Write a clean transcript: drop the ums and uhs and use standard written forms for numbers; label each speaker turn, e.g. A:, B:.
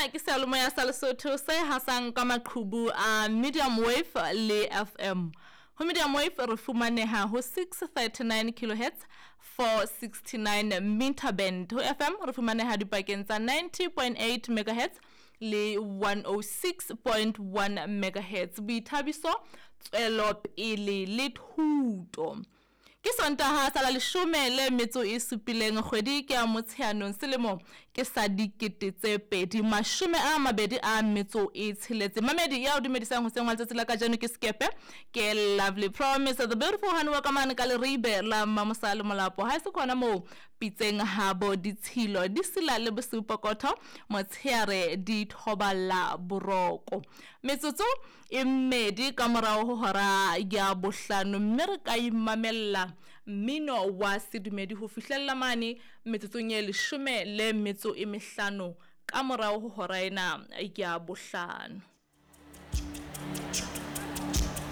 A: Sena ke seyalemoya sa Lesotho se hasang ka maqhubu a medium wave le FM. Ho medium wave re fumaneha ho 639 kilohertz 469 meter band. Ho FM re fumaneha dipakeng tsa 90.8 megahertz le 106.1 megahertz. Boithabiso, tswelopele le thuto. Ke Sontaha sa la leshome le metso e supileng kgwedi ke ya Motsheanong selemo ke sa 2026. Mamedi ya o dumedisang hoseng wa letsatsi la kajeno ke Sekepe ke Lovely Promise the beautiful Haniwa ka mane ka Leribe la Mmamosa le Molapo. Ha e se khona moo pitseng habo ditshilo di sila le bosiu pokotho motsheare di thoballa boroko. Metsotso e mmedi ka morao ho hora ya bohlano mme re ka imamella mmino wa sedumedi ho fihlella mane metsotsong e 15 ka morao ho hora ena ya bohlano.